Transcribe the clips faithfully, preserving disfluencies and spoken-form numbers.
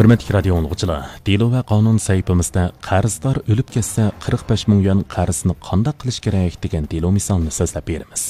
ھۆرمەتلىك رادىيو ئاڭلىغۇچىلار، دېلو ۋە قانۇن سەھىپىمىزدە قەرزدار ئۆلۈپ كەتسە، قىرىق بەش مىڭ يۈەن قەرزنى قانداق قىلىش كېرەك دېگەن دېلو مىسالىنى سۆزلەپ بېرىمىز.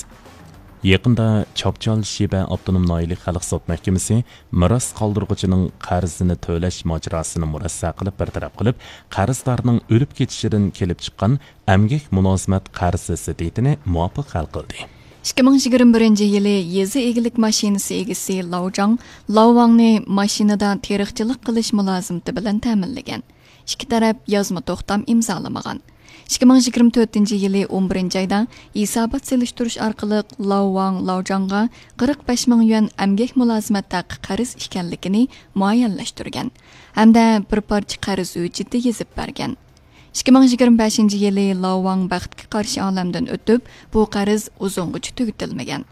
يېقىندا چاپچال شىبە ئاپتونوم ناھىيەلىك خەلق سوت مەھكىمىسى مىراس قالدۇرغۇچىنىڭ قەرزىنى تۆلەش ماجىراسىنى مۇرەسسە قىلىپ بىر تەرەپ قىلىپ، قەرزدارنىڭ ئۆلۈپ كېتىشىدىن كېلىپ چىققان ئەمگەك مۇلازىمەت قەرزى زىددىيىتىنى مۇۋاپىق ھەل قىلدى. ئىككى مىڭ يىگىرمە بىرىنچى يىلى يېزا ئىگىلىك ماشىنىسى ئېگىسى لاۋجاڭ لاۋۋاڭنى ماشىنىدا تېرىقچىلىق قىلىش مۇلازىمىتى بىلەن تەمىنلىگەن. ئىككى تەرەپ يازما توختام ئىمزالىمىغان. ئىككى مىڭ يىگىرمە تۆتىنچى يىلى ئون بىرىنچى ئايدا ھېسابات سېلىشتۇرۇش ئارقىلىق لاۋۋاڭ لاۋجاڭغا قىرىق بەش مىڭ يۈەن ئەمگەك مۇلازىمەت ھەققى قەرز ئىكەنلىكىنى مۇئەييەنلەشتۈرگەن ھەمدە بىر پارچە قەرز ھۆججىتى يېزىپ بەرگەن. ئىككى مىڭ يىگىرمە بەشىنچى يىلى لاۋۋاڭ بەختكە قارشى ئالەمدىن ئۆتۈپ، بۇ قەرز ئۇزۇنغىچە تۈگىتىلمىگەن.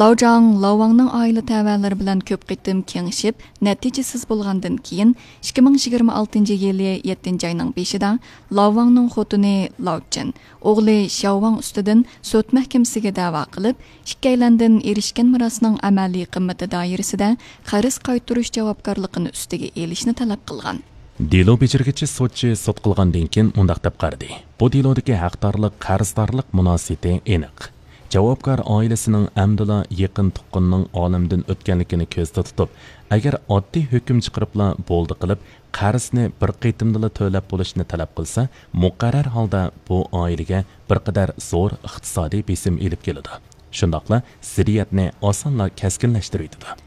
لاۋجاڭ لاۋۋاڭنىڭ ئائىلە تەۋەلىرى بىلەن كۆپ قېتىم كېڭىشىپ، نەتىجىسىز بولغاندىن كېيىن، ئىككى مىڭ يىگىرمە ئالتىنچى يىلى يەتتىنچى ئاينىڭ بېشىدا لاۋۋاڭنىڭ خوتۇنى لاۋچىن ئوغلى شياۋۋاڭ ئۈستىدىن سوت مەھكىمىسىگە دەۋا قىلىپ، ئىككىيلەندىن ئېرىشكەن مىراسنىڭ ئەمەلىي قىممىتى دائىرىسىدە قەرز قايتۇرۇش جاۋابكارلىقىنى ئۈستىگە ئېلىشنى تەلەپ قىلغان. دېلو بېجىرگۈچى سوتچى سوت قىلغاندىن كېيىن مۇنداق دەپ قارىدى: بۇ دېلودىكى ھەقدارلىق، قەرزدارلىق مۇناسىۋىتى ئېنىق. جاۋابكار ئائىلىسىنىڭ ئەمدىلا يېقىن تۇغقىنىنىڭ ئالەمدىن ئۆتكەنلىكىنى كۆزدە تۇتۇپ، ئەگەر ئاددىي ھۆكۈم چىقىرىپلا بولدى قىلىپ، قەرزنى بىر قېتىمدىلا تۆلەپ بولۇشنى تەلەپ قىلسا، مۇقەررەر ھالدا بۇ ئائىلىگە بىر قەدەر زور ئىقتىسادىي بېسىم ئېلىپ كېلىدۇ. شۇنداقلا زىددىيەتنى ئاسانلا كەسكىنلەشتۈرۈۋېتىدۇ.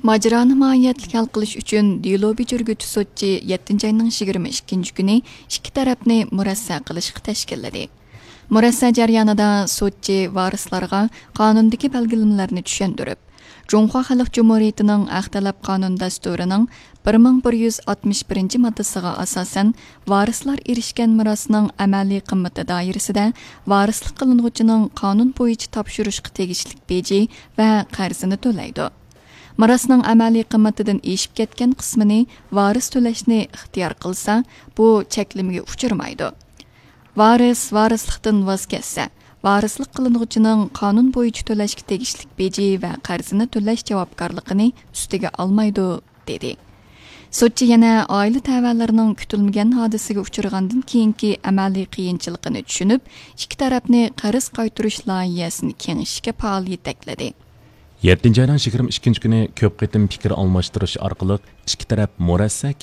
ماجىرانى ماھىيەتلىك ھەل قىلىش ئۈچۈن دېلو بېجىرگۈچى سوتچى يەتتىنچى ئاينىڭ يىگىرمە ئىككىنچى كۈنى ئىككى تەرەپنى مۇرەسسە قىلىشقا تەشكىللىدى. مۇرەسسە جەريانىدا سوتچى ۋارىسلارغا قانۇندىكى بەلگىلىمىلەرنى چۈشەندۈرۈپ، جۇڭخۇا خەلق جۇمھۇرىيىتىنىڭ ھەق تەلەپ قانۇن دەستۇرىنىڭ بىر مىڭ بىر يۈز ئاتمىش بىرىنچى ماددىسىغا ئاساسەن، ۋارىسلار ئېرىشكەن مىراسنىڭ ئەمەلىي قىممىتى دائىرىسىدە ۋارىسلىق قىلىنغۇچىنىڭ قانۇن بويىچە تاپشۇرۇشقا تېگىشلىك بېجى ۋە قەرزىنى تۆلەيدۇ. مىراسنىڭ ئەمەلىي قىممىتىدىن ئېشىپ كەتكەن قىسمىنى ۋارىس تۆلەشنى ئىختىيار قىلسا، بۇ چەكلىمىگە ئۇچرىمايدۇ. ۋارىس ۋارىسلىقتىن ۋاز كەچسە، ۋارىسلىق قىلىنغۇچىنىڭ قانۇن بويىچە تۆلەشكە تېگىشلىك بېجى ۋە قەرزىنى تۆلەش جاۋابكارلىقىنى ئۈستىگە ئالمايدۇ، دېدى. سوتچى يەنە ئائىلە تەۋەلىرىنىڭ كۈتۈلمىگەن ھادىسىگە ئۇچرىغاندىن كېيىنكى ئەمەلىي قىيىنچىلىقىنى چۈشىنىپ، ئىككى تەرەپنى قەرز قايتۇرۇش لايىھەسىنى كېڭىشىشكە پائال يېتەكلىدى. يەتتىنچى ئاينىڭ يىگىرمە ئىككىنچى كۈنى كۆپ قېتىم پىكىر ئالماشتۇرۇش ئارقىلىق ئىككى تەرەپ مۇرەسسە